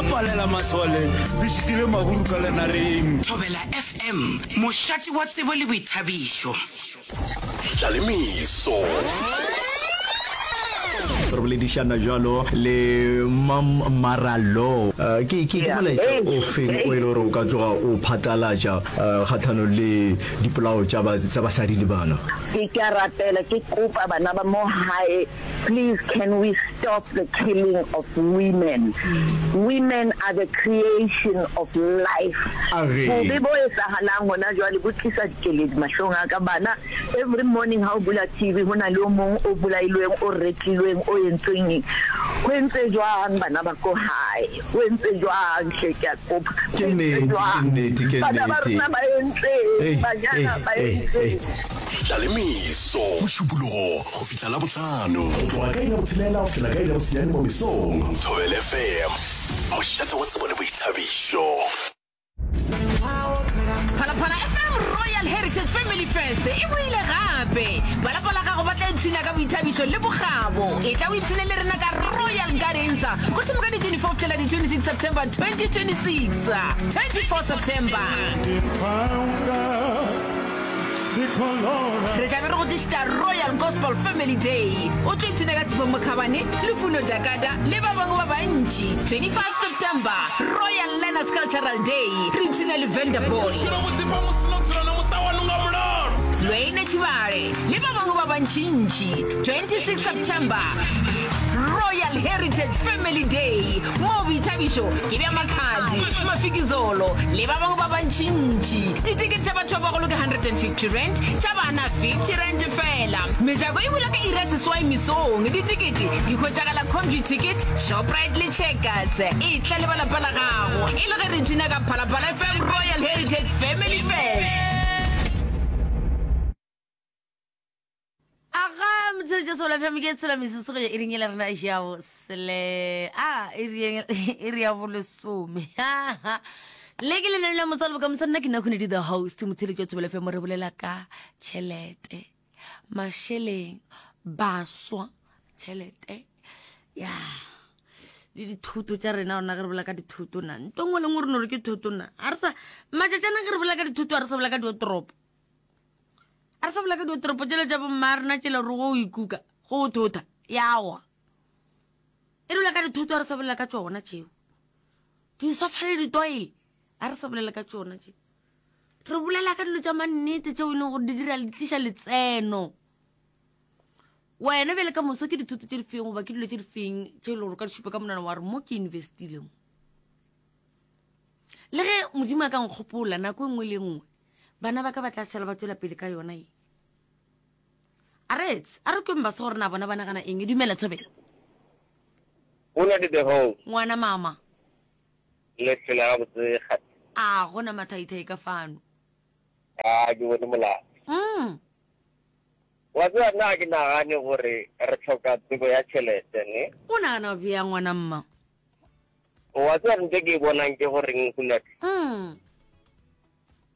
La palela masole, le šitile maburu ka lenareng. Thobela FM, mošate wa tsebo le boithabišo. Ditlalemeso. Re boledišana bjalo le Mam Maralo. Ke ke ke molaetša o feng o e le gore o ka tloga o phatlalatša kgahlanong le dipolao tša ba tša basadi le bana? Ke ke a rapela ke kopa bana ba mo hae please can we stop the killing of women women are the creation of life bobe bo etsahalang hona jwale bo tlisa dikeledi mahlong a ka bana every morning ha o bula TV ho na le o mong o bolailweng o retlilweng o entsweng eng ho entse jwang bana ba ko hae ho entse jwang hle ke a kopa Ke nnete, ke nnete, ke bana ba nnete. rona ba entseng Ei, banyana ei, ba ei, ei. entseng Ditlalemeso, Mošupologo go fihla Labohlano. Go tloga ka iri ya botshelela go fihla ka iri ya bosenyane mo mesong. Thobela FM, mošate wa tsebo le boithabišo. Phalaphala FM Royal Heritage Family Fest e boile gape. Ba lapa la gago ba tla ipshina ka boithabišo le bokgabo. Etla o ipshine le rena ka Royal Gardens go thoma ka di 24 go fihlela di 26 September 2026. 24 September. Re tla be re go tlišetša Royal Gospel Family Day. O tlo ipshina ka Tshepo Mokhabane, Lufuno Dakada le ba bangwe ba bantši. 25 September, Royal Learners Cultural Day, re ipshina le Venderboy, Lweine Tshibale le ba bangwe ba bantšintši. 26 September, Royal Heritage Family Day, moo boithabišo ke bja Makhadzi, Mafikizolo le ba bangwe ba bantšintši. Ditekete tša batho ba bagolo ke R150, tša bana R50 feela. Mejako e bula ka iri ya seswai mesong. Ditekete di hwetšagala Computicket, Shoprite le Checkers. Etla le ba lapa la gago e le ge re ipshina ka Phalaphala FM Royal Heritage Family Fest. Aga motshelo Jesu la fm ke tshela mesese go ya iring e la rena ya bo sele a iri iri ya bolesome le ke lenane la motswalo bokamoso nna ke nna khunedi the host motsheletso wa tsebelo fm re bolela ka tšhelete mašeleng baswa tšhelete ya le dithoto tša rena rona ge re bolela ka dithoto na nto nngwe le nngwe re no re ke thoto na a re sa matšatšana ge re bolela ka dithoto a re sa bolela ka diotoropo A re sa bolela ka diotoropo tšela tša bomma rena tšela gore go o ikuka go o thotha yawa e dula ka dithoto a re sa bolela ka tšona tšeo disofa le ditoile a re sa bolela ka tšona tše re bolela ka dilo tša mannete tšeo e leng gore di dira di tliša letseno wena bjale ka moso ke dithoto tše di feng goba ke dilo tše di feng tše e leng gore ka di šupa ka monwana wa re mo ke investile mo le ge modimo a ka nkgopola nako e nngwe le e nngwe Bana ba ka ba tla šala ba tšwela pele ka yona ye. A re etse, a re kweng baswa gore na bona ba nagana eng. Dumela Thobela. O na le the whole. Ngwana mama. Le phela gabotse kgati. A gona mathaithai ka fano. A ke bone molato. Mm. Wa tseba nna ga ke nagane gore re hloka tsebo ya tšhelete ne. O nagana bjang ngwana mma? Wa tseba ntho e ke e bonang ke goreng Hunadi? Mm.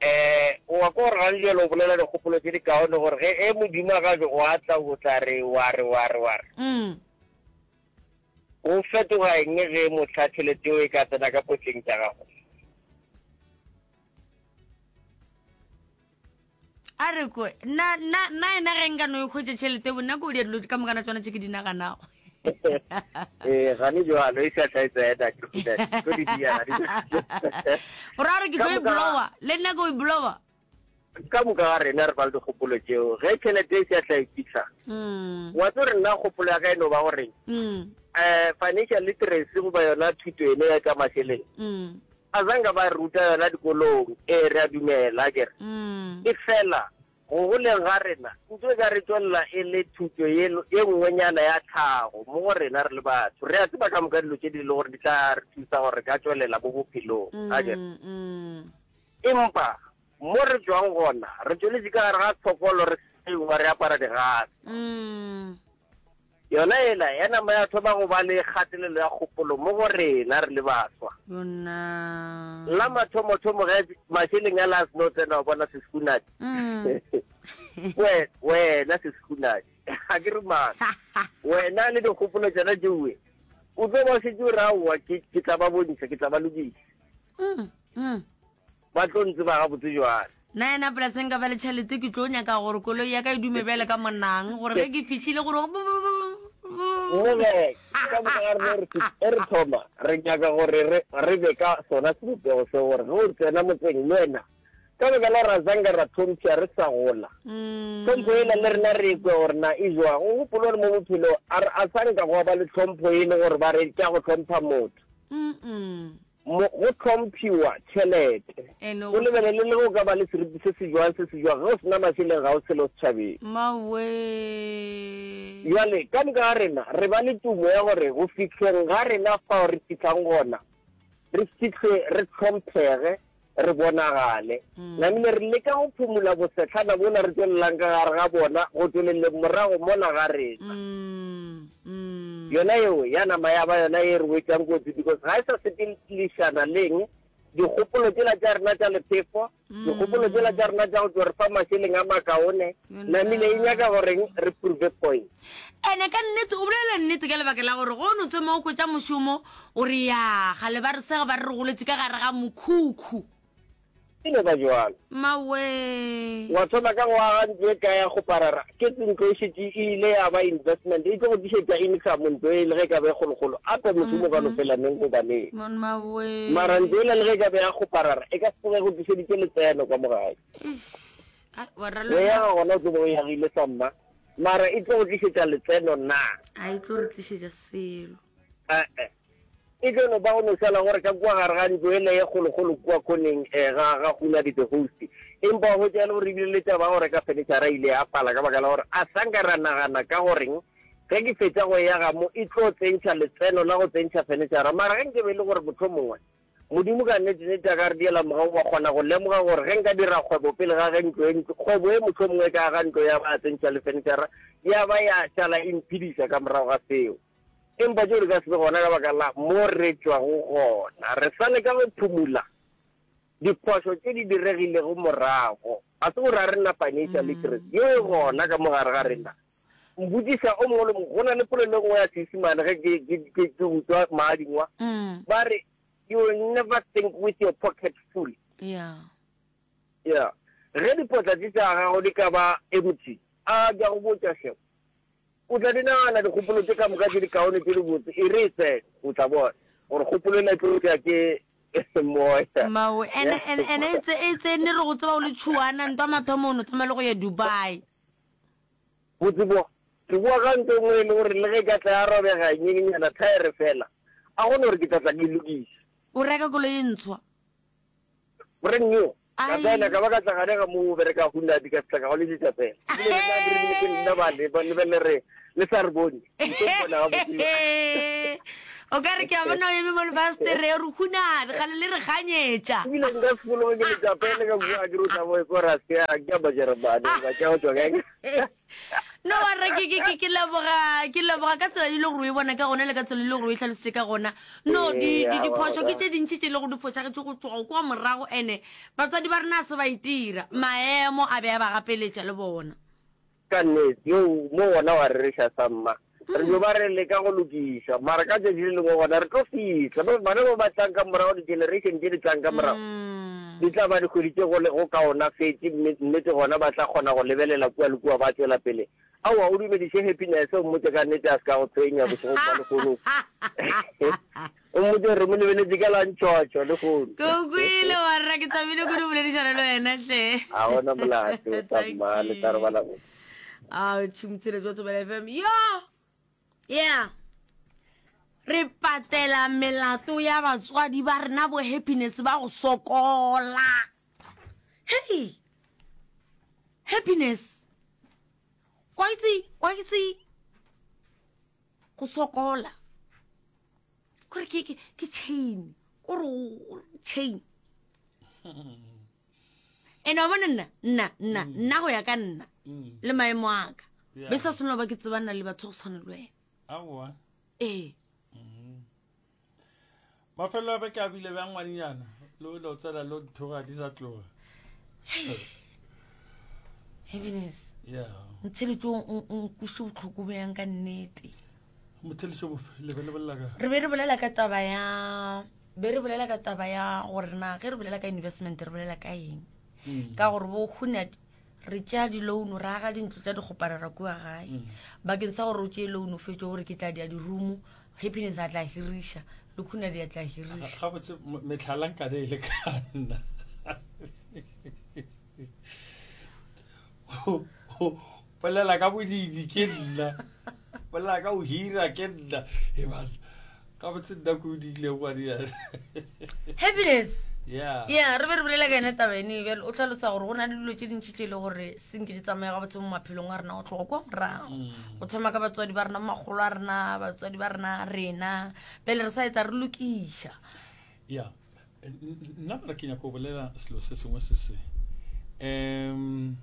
Eh, o wa ko gore gane jalo o bolela dikgopolo tse di kaone gore ge e modimo a gajo o a tla o tla re wa re wa re wa re. Mm. O fetoga eng ge mohla tšhelete eo e ka tsena ka potleng tša gago? A re ko nna nna nna ena ge nka no e hwetša tšhelete bo nna ko di dilo ka mokana tsona tše ke di naganago. Eh, gane jwalo e sa tla tsena ke go tlo di dia. Gore a re ke tlo e blowa, le nna ke o e blowa. Ka moka ga rena re ba le dikgopolo tšeo ge tšhelete e sa tla e fitlha. Mm. Wa tlo re nna kgopolo ya ka e no ba gore Mm. eh financial literacy goba yona thuto ene ya tša mašeleng. Mm. A zanka ba re ruta yona dikolong, ee, re a dumela, akere. Mm. E fela, go goleng ga rena, ntho e ka re tšwelela e le thuto ye, ye nngwenyana ya tlhago mo go rena re le batho. Re a tseba ka moka dilo tše di le gore di tla re thusa gore re ka tšwelela mo bophelong, akere. Mm, mm. Empa, mo re tšwang gona, re tšweletše ka gare ga tshokolo, re seiwa, re apara digase. Mm. Yona yela ya nama ya thoma go ba le kgatelelo ya kgopolo mo go rena re le baswa. Yona. La mathomothomo ge mašeleng a la a seno tsena wa bona sesekunadi. Mm. We, wena sesekunadi. Ga ke re maaka. Wena le dikgopolo tšona tšeue. O tlo ba šetše o re aowa ke ke tla ba bontšha, ke tla ba lokiša. Mm, mm. Ba tlo ntseba gabotse jwale. Nna yena polaseng ka ba le tšhelete ke tlo nyaka gore koloi ya ka e dume bjale ka monang gore ge ke fihlile gore Mme ka moka ga rena re e re thoma re nyaka gore re re be ka sona sebopego seo gore ge o tsena motseng le wena ka baka la ra zanka ra tlhompšha re sa gola mm. tlhompho ela le rena re kwe gore na e jwang o gopole gore mo bophelo a sanka go ba le tlhompho e le gore ba re ke go tlhompha motho Mo, go hlomphiwa tšhelete. Ene O lebelele le ge o ka ba le seriti se se jwang, se se jwang, ge o se na mašeleng ga o selo setšhabeng. Mawee. Bjale, ka moka ga rena re ba le tumo ya gore go fihleng ga rena fao re fihlang gona, re fihle re hlomphege, re bonagale. Namile re leka go phumula bosehlana bola re tšwelelang ka gare ga bona go tšweleleng morago mola ga rena. Yona yeo ya nama ya ba yona ye re wetšang kotsi because ga e sa sepelišana le eng, dikgopolo tšela tša rena tša lephefo, dikgopolo tšela tša rena tša go tšo re fa mašeleng a makaone, namile e nyaka goreng re prove point. Ene ka nnete o bolela nnete ka lebaka la gore go no thoma o hwetša mošomo o re ya gale ba re sega ba re re goletše ka gare ga mokhukhu. E no ba jwalo. Mawee. Wa thoma ka go aga ntlo e kae ya kgoparara, ke ntlo e šetše e ile ya ba investment, e tlo go tlišetša income ntlo e le ge e ka ba e kgolokgolo, ape mošomo o ka no fela neng goba neng. Mawee. Mara ntlo ela le ge e ka ba ya kgoparara e ka se tsoge e go tlišeditše letseno ka mo gae. Eish. Ai, wa ra Go yaga gona o tlo be o yagile sa mma. Mara e tlo go tlišetša letseno na? A e tlo re tlišetša selo. E-e. E tlo no ba go no šala gore ka kua gare ga ntlo ele ye kgolokgolo kua khoneng eh, ga, ga Hunadi the Host. Empa wa hwetša e le gore ebile le taba ya go reka fenitšhara e ile ya pala ka baka la gore a sa nka ra nagana ka goreng ge ke fetša go e aga mo e tlo tsentšha letseno la go tsentšha fenitšhara. Mara ge nke be e le gore mohlomongwe Modimo ka nnete-nnete a ka re diela mogau wa kgona go lemoga gore ge nka dira kgwebo pele ga ge ntlo e ntlo, kgwebo e mohlomongwe e ka aga ntlo ya ba ya tsentšha le fenitšhara, ya ba ya šala e mphediša ka morago ga seo. Empa tšeo di ka se be gona ka baka la mo re tšwago gona. Re sa leka go phumula diphošo tše di diregilego morago. Ga se gore ga re na financial literacy, yeo e gona ka mo gare ga rena. Mpotšiša o mongwe le mongwe, go na le polelo e nngwe ya Seisemane ge ke, ke, ke, ke utswa maadingwa, Mm. ba re, You will never think with your pocket full. Yeah. Yeah. Ge dipotla tše tša gago di ka ba empty, a ke a go botša hle, o tla di nagana dikgopolo tše ka moka tše dikaone tše dibotse, e re e tsene, o tla bona gore kgopolo ela e tlo tšea ke moya. Mawe, ene, ene, ene e tse- e tsene re go tseba o le tšhuana, ntwa mathomo o no tsamaya le go ya Dubai. Botse bo, ke boa ka ntlo e nngwe e le gore le ge e ka tla ya robega nyenyana thaere fela, a go no gore ke tla tla ke e lokiša. O reka koloi e ntshwa? Brand new. Ka Ai. tsena ka ba ka tla gane ga mo bereka Hyundai ka fihla ka go lesetša fela. Ebile le nna ke re ke nna ba le ba lebelele re le sa re bone. Ke tlo mpona gabotse. O ka re ke a bona o eme mo lefasetere re hunare gale le re ganyetša. Ebile nka se fologe ke letša pele ka kua ke re o tla bo ko ra se ya ke a Majeremane ba ke go tšwa kae. No wa re ke ke ke ke leboga ke leboga ka tsela e le gore o e bona ka gona le ka tsela e le gore o e hlalositše ka gona. No di di diphošo ke tše dintši tše e le gore di fošagetše go tloga kwa morago ene batswadi ba rena a se ba itira maemo a be a ba gapeletša le bona. Ka nnete, yo mo gona wa rereša samma. Re dio ba re leka go lokiša, mara ka tšatši le lengwe gona re tlo fihla. Ba bana ba ba tlang ka morago, di-generation tše di tlang ka morago, di tla ba di hweditše go le go kaonafetše, mme nnete gona ba tla kgona go lebelela kua le kua ba tšwela pele. Aowa, o dumediše Happiness, o mmotše ka nnete a se ka go tshwenya bošegong bja lehono. O mmotše gore re mo lebeletše ka la ntšhotšho lehono. Ke o kwele warra, ke thabile kudu boledišana le wena hle. A gona molato, Thank tsamma le tla robala you. A tšhomotshile jwa Thobela FM. Yo! Yeah. Re patela melato ya batswadi ba rena bo happiness ba go sokola. Hey! Happiness. Wa itse, wa itse go sokola. Kore ke ke ke chain. Kore chain. Ene wa bona nna nna nna mm. nna go ya ka nna mm. le maemo a ka. Be sa tshwanela ba ke tsebana le batho go tshwana le wena. Aowa. Ee. Mm. Mafelo a beke a bile bjang ngwanenyana le lo tsela lo nthoga di sa tloga. Happiness. Yeah. Ntsheletso o nkuše botlhoko bjang ka nnete. Motheletšo bofe le be le bolela ka? Re be re bolela ka taba ya be re bolela ka taba ya gore na ge re bolela ka investment re bolela ka eng mm. ka gore bo hunad re tšea di-loan re aga dintlo tša dikgoparara kua gae mm. bakeng sa gore o tšee loan o fetše gore ke tla dia di-room happiness a tla hiriša le khunadi a tla hiriša gabotse metlhala nkabe e le ka nna bolela ka bodidi ke nna bolela ka o hira ke nna e bana gabotse nna ko o diile ngwadiana happiness yeah ya re be re bolela ka yone taba ene bjale o tlhalosa gore go na le dilo tse dintši tse e le gore senke di tsamaya gabotse mo maphelong a rena go tloga kwa morago mm. go thoma ka batswadi ba rena makgolo a rena batswadi ba rena rena pele re sa etla re lokiša ya nna mara ke nyako go bolela selo se sengwe se se um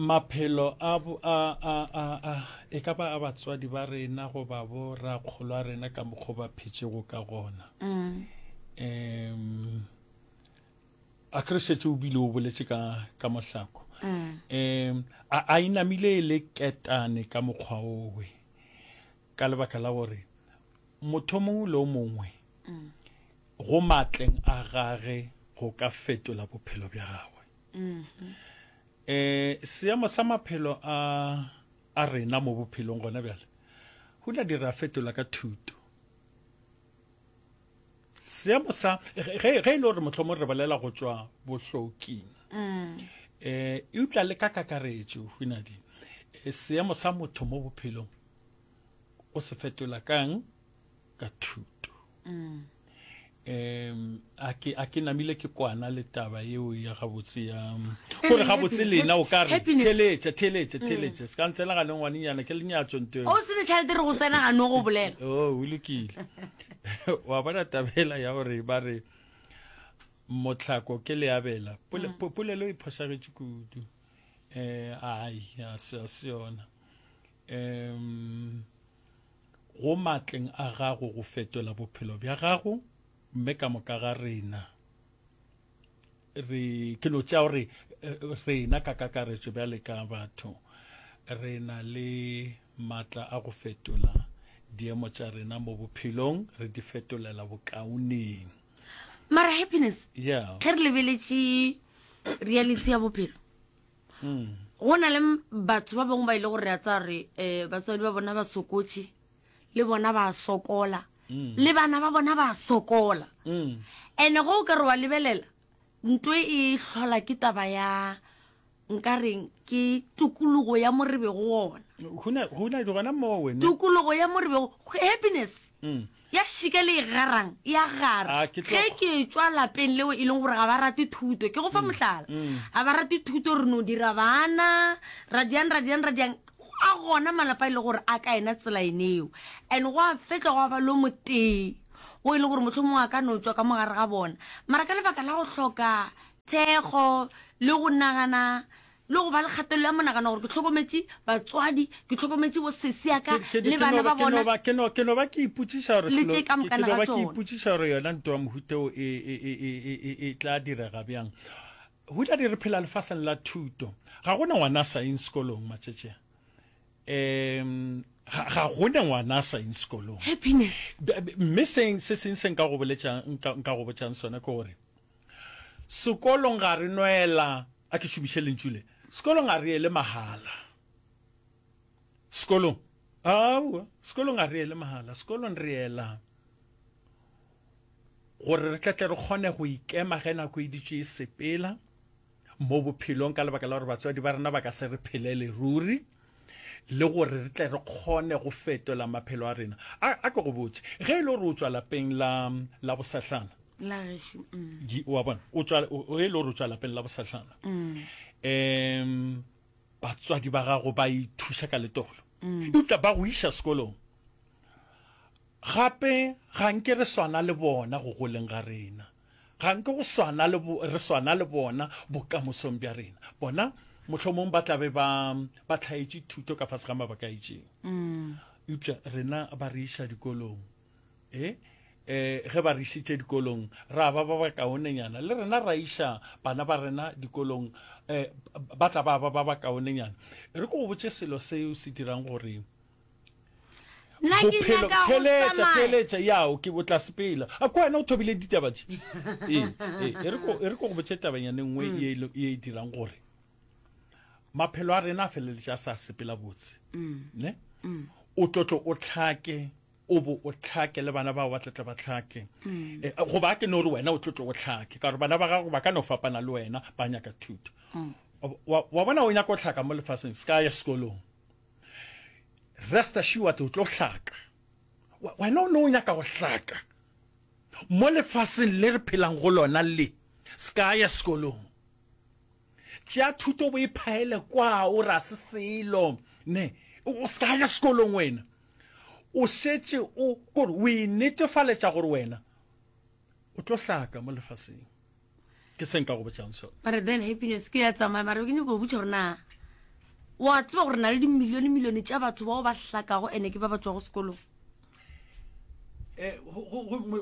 Maphelo a, a, a, a, a, e ka ba a batswadi ba rena goba bo rakgolo a rena ka mokgwa ba phetšego ka gona. Mm. Um, a ke re šetše o bile o boletše ka, ka mohlako. Mm. Um, a, a inamile e le ketane ka mokgwa owe ka lebaka la gore motho mongwe le o mongwe mm. go matleng a gage go ka fetola bophelo bja gagwe. Um seemo sa maphelo a a rena mo bophelong gona bjale go tla dira fetola ka thuto. Seemo sa ge ge e le gore mohlomong re bolela go tšwa bohloking um eupša le ka kakaretšo hunadi eh, seemo sa motho mo bophelong o se fetola kang ka thuto mm. um a ke a ke namile ke kwana le taba yeo ya gabotse ya gore gabotse lena o ka re theletša theletša mm. theletša se ka ntsena ga lengwanenyana ke lenyatso nto o se le tšhelete re go tsena ga no go bolela o o lokile wa bona tabela ya gore ba re motlhako ke leabela mm. polelo e phošagetše kudu um ai a se yona um Go matleng a gago go fetola bophelo bja gago, mme ka moka ga rena re, ke no tšea gore rena ka kakaretšo bjale ka batho re na le matla a go fetola diemo tša rena mo bophelong, re di fetolela bokaoneng. Mara happiness, Yeah. ge re lebeletše reality ya bophelo, Go na le batho ba bangwe ba ile gore re a tsaya gore um batswadi ba bona ba sokotše le bona ba sokola mm. le bana ba bona ba sokola mm. and-e go o ka re wa lebelela nto e hlola ke taba ya nka reng ke tokologo ya mo re bego ona tokologo ya mo re bego happiness mm. Ya šika le e garang, e a gara. A, ke tlo- Ge ke etšwa lapeng leo e leng gore ga ba rate thuto, ke go fa mohlala, ga ba rate thuto, re no dira bana, ra diang, ra diang, ra diang. A gona malapa e le gore a ka ena tsela eneo. And gwa fetša gwa ba lo motee o e leng gore mohlomongwe a ka no tšwa ka mo gare ga bona. Mara ka lebaka la go hloka thekgo le go nagana le go ba le kgatelelo ya monagano gore ke hlokometše batswadi, ke hlokometše bo sesi ya ka le bana ba bona. Ke no ke no ba ke ipotšiša gore Le tše ka ke mokana no ga ba ke tšona. ipotšiša gore yona ntwa mohuta o e e e e e e e tla direga bjang. Huladi re phela lefaseng la thuto. Ga gona ngwana a sa yeng sekolong matšatši a. Um ga ga gona ngwana a sa yeng sekolong. Happiness. Mme seng se seng se nka go boletšang nka nka go botšang sona ke gore Sekolong ga re nwela, a ke šomiše lentšu le, sekolong ga re ele mahala. Sekolong, aowa, sekolong ga re ele mahala, sekolong re ela gore re tletle re kgone go ikema ge nako e ditše e sepela mo bophelong ka lebaka la gore batswadi ba rena ba ka se re phelele ruri le gore re tle re kgone go fetola maphelo a rena. A, a ke go botše, ge e le gore o tšwa lapeng la, la bosahlana, La gešo, mm. Ye, wa bona, o tšwa, o, ge e le gore o tšwa lapeng la bosahlana, mm. um batswadi ba gago ba ithuša ka letolo, mm. eupša ba go iša sekolong. Gape ga nke re swana le bona go goleng ga rena. Ga nke go swana le bo, re swana le bona bokamosong bja rena. Bona mohlomong ba tla be ba, ba hlaetše thuto ka fase ga mabaka a itšeng. Mm. Eupša rena ba re iša dikolong. E? um ge ba re išitše dikolong ra ba ba bakaonenyana, le rena ra iša bana ba rena dikolong um ba tla ba ba ba bakaonenyana. E re ke go botše selo seo se dirang gore Nna ke bophelo nyaka go theeletša tsamaya. theeletša ya o ke o tla sepela a ko wena o thobile ditaba tše ee ee e re ko e re ko go botše tabanyana e nngwe ye e le- ye e dirang gore maphelo a rena a feleletše a sa sepela botse ne o tlotlo o tlhake o bo o tlhake le bana bao ba tlatla ba tlhake mm. eh, goba a ke no re wena o tlotlo o tlhake ka gore bana ba gago ba ka no fapana le wena ba nyaka thuto mm. wa, wa bona o nyaka o tlhaka mo lefaseng se ka ya sekolong rest assured o tlo hlaka wena o ne o nyaka go hlaka mo lefaseng le re phelang go lona le se ka ya sekolong Tšea thuto bo e phaele kwa o ra se selo ne o se ka ya sekolong wena o šetše o kore o e netefaletša gore wena o tlo hlaka mo lefaseng ke se nka go botšang sona mare then happiness ke ya tsamaya mare ke nyako go botša gore na wa tseba gore na le dimilione milione tša batho bao ba hlakago ene ke ba ba tšwago sekolong Eh,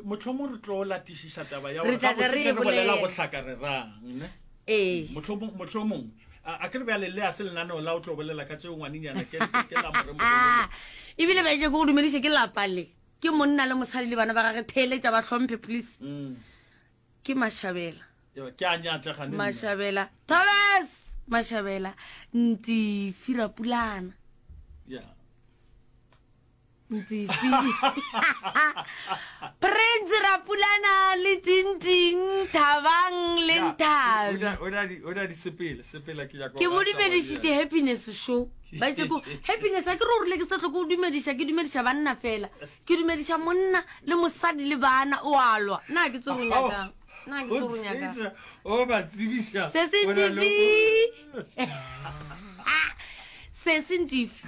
mohlomong re tlo latišiša taba ya Re tla tla re e re bolela bolela. go hlaka re rang ne ee mohlomong mohlomong a a ke re bjale le a se lenaneo la o tlo bolela ka tšeo ngwanenyana ke ke la moremogolo ebile ba ke go dumediše ke lapa le ke monna le mosadi le bana ba gage theeletša ba hlomphe please Mm. ke mashabela Yo, ke a nyatša gane nna. mashabela thomas mashabela ntifi rapulana Yeah. Ntsifi. Prince Rapulana le Tinting Thabang le Nthabi. O na di o na di sepela sepela ke nyaka Ke mo dumedišitše happiness show. Ba itse ko happiness a ke re o rile ke sa tlhoke go dumediša ke dumediša banna fela. Ke dumediša monna le mosadi le bana o a lwa. Na ke tsoro nyakang. Na ke tsoro nyakang. O ba tsebiša. Se se ntifi. Se se ntifi.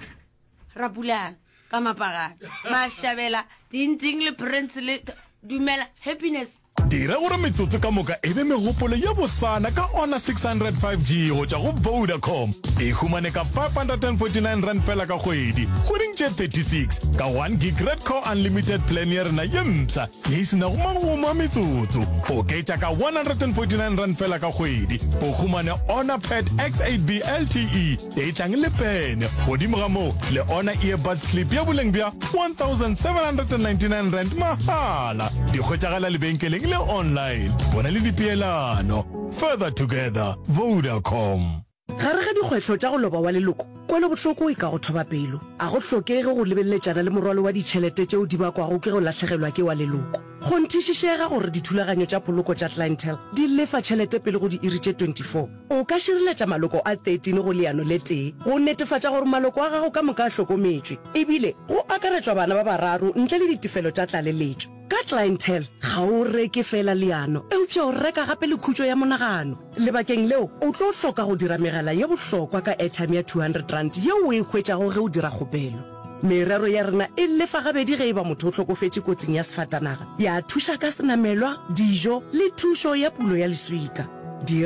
Rapulana ka mapagana mashabela tinting le prince le dumela happiness Dira gore metsotso ka moka e be megopolo ye bosana ka Honor 600 5G go tšwa go Vodacom. E humane ka R549 fela ka kgwedi, kgweding tše 36, ka 1 gig Red Core Unlimited plan ya rena ye mpsha ye e se nago magomo a metsotso. Oketša ka R149 fela ka kgwedi, o humane Honor Pad X8B LTE e tlang le pene. Godimo ga moo, le ona earbuds clip ya boleng bja R1799 mahala. Di hwetšagala lebenkeleng le online. Bona le dipeelano. Further together, Vodacom. Gare ga dikgwetlho tša go loba wa leloko, kwelobohloko e ka go thoba pelo. A go hlokege go lebeleletšana le morwalo wa ditšhelete tšeo di bakwago ke go lahlegelwa ke wa leloko. Kgonthišišega gore dithulaganyo tša poloko tša Clientele di lefa tšhelete pele go diiri tše 24. O ka šireletša maloko a 13 go leano le tee go netefatša gore maloko a gago ka moka a hlokometšwe, ebile go akaretšwa bana ba bararo ntle le ditefelo tša tlaleletšo. Ka Clientele, ga o reke feela leano, eupša o reka gape le khutšo ya monagano. Lebakeng leo, o tlo hloka go dira megala ye bohlokwa ka airtime ya R200 yeo o e hwetšago ge o dira kgopelo. Merero ya rena e lefa gabedi ge e ba motho o hlokofetše kotsing ya sefatanaga, ya thuša ka senamelwa, dijo le thušo ya pulo ya leswika. Dira.